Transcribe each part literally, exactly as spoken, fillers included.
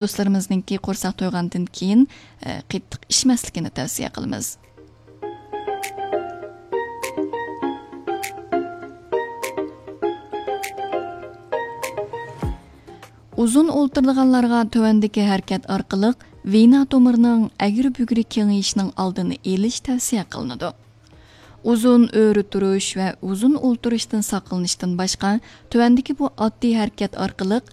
دوستلىرىمىزنىڭكى قورساق تويغاندىن كېيىن، ئە، قېتىق ئىچمەسلىكىنى تەۋسىيە قىلىمىز. ئۇزۇن ئولتۇرىدىغانلارغا تۆۋەندىكى ھەرىكەت ئارقىلىق ۋېنا تومۇرىنىڭ ئەگرى-بۈگرى كېڭىيىشىنىڭ ئالدىنى ئېلىش تەۋسىيە قىلىنىدۇ. ئۇزۇن ئۆرە تۇرۇش ۋە ئۇزۇن ئولتۇرۇشتىن ساقلىنىشتىن باشقا، تۆۋەندىكى بۇ ئاددىي ھەرىكەت ئارقىلىق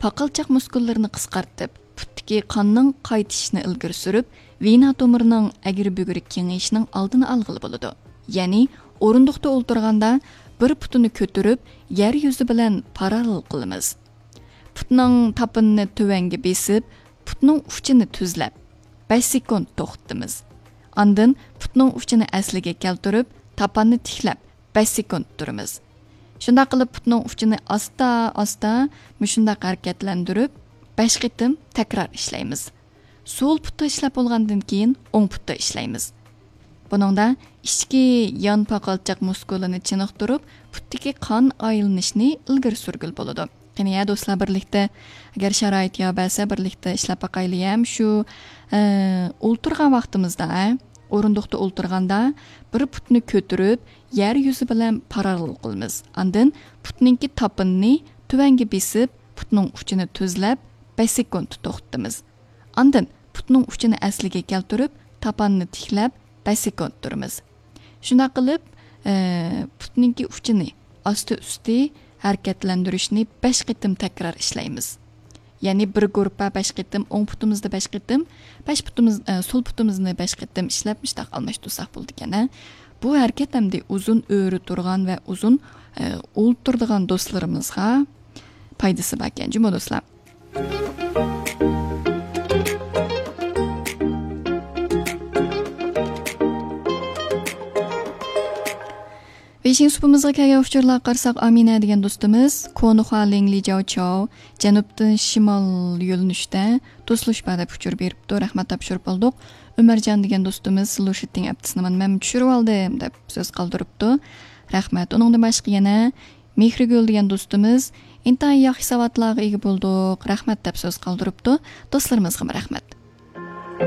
پاقالچاق مۇسكۇللىرىنى قىسقارتىپ، پۇتتىكى قاننىڭ قايتىشىشىنى ئىلگىرى سۈرۈپ، ۋېنا تومۇرىنىڭ ئەگرى-بۈگرى كېڭىيىشىنىڭ ئالدىنى ئالغىلى بولىدۇ. يەنى ئورۇندۇقتا ئولتۇرغاندا بىر پۇتىنى كۆتۈرۈپ، يەر يۈزى بىلەن پاراللېل قىلىمىز. پۇتنىڭ تاپىنىنى تۆۋەنگە بېسىپ، پۇتنىڭ ئۇچىنى تۈزلەپ، بەش سېكۇنت توختىتىمىز. ئاندىن پۇتنىڭ ئۇچىنى ئەسلىگە كەلتۈرۈپ، تاپاننى تىكلەپ، بەش سېكۇنت تۇرىمىز. شۇنداق قىلىپ، پۇتنىڭ ئۇچىنى ئاستا-ئاستا مۇشۇنداق ھەرىكەتلەندۈرۈپ، بەش قېتىم تەكرار ئىشلەيمىز. سول پۇتتا ئىشلەپ بولغاندىن كېيىن، ئوڭ پۇتتا ئىشلەيمىز. بۇنىڭدا ئىچكى يان پاقالچاق مۇسكۇلىنى چېنىقتۇرۇپ، پۇتتىكى قان ئايلىنىشنى ئىلگىرى سۈرگىلى بولىدۇ. قېنى، يە دوستلار، بىرلىكتە، ئەگەر شارائىت يار بەرسە، بىرلىكتە ئىشلەپ باقايلى. ھەم شۇ، ئە، ئولتۇرغان ۋاقتىمىزدا، ھە، ئورۇندۇقتا ئولتۇرغاندا بىر پۇتنى كۆتۈرۈپ، يەر يۈزى بىلەن پاراللېل قىلىمىز. ئاندىن پۇتنىڭكى تاپىنىنى تۆۋەنگە بېسىپ، پۇتنىڭ ئۇچىنى تۈزلەپ، بەش سېكۇنت توختىتىمىز. ئاندىن پۇتنىڭ ئۇچىنى ئەسلىگە كەلتۈرۈپ، تاپاننى تىكلەپ، بەش سېكۇنت تۇرىمىز. شۇنداق قىلىپ، ئە، پۇتنىڭكى ئۇچىنى ئاستى-ئۈستى ھەرىكەتلەندۈرۈشنى بەش قېتىم تەكرار ئىشلەيمىز. يەنى بىر گۇرۇپپا بەش قېتىم، ئوڭ پۇتىمىزدا بەش قېتىم، بەش پۇتىمىز، ئە، سول پۇتىمىزنى بەش قېتىم ئىشلەپ، مۇشۇنداق ئالماشتۇرساق بولىدىكەن، ھە. بۇ ھەرىكەت ئەمدى ئۇزۇن ئۆرە تۇرغان ۋە ئۇزۇن، ئە، ئولتۇرىدىغان دوستلىرىمىزغا پايدىسى باركەن جۇمۇ دوستلار. بېشىنچى سۇپىمىزغا كەلگەن ئۇچۇرلارغا قارىساق، ئامىنە دېگەن دوستىمىز، كونخۇا لىڭلى جاۋ چاۋ، جەنۇبتىن شىمال يۆنىلىشتە توسۇلۇش بار دەپ ئۇچۇر بېرىپتۇ. رەھمەت تاپشۇرۇپ بولدۇق. ئۆمەرجان دېگەن دوستىمىز، لۇشىتىڭ ئەپتىسىنى مانا مەن چۈشۈرۈپ ئالدىم دەپ سۆز قالدۇرۇپتۇ. رەھمەت. ئۇنىڭدىن باشقا يەنە مېھرىگۈل دېگەن دوستىمىز، ئىنتايىن ياخشى ساۋاتلارغا ئىگە بولدۇق، رەھمەت دەپ سۆز قالدۇرۇپتۇ. دوستلىرىمىزغىمۇ رەھمەت.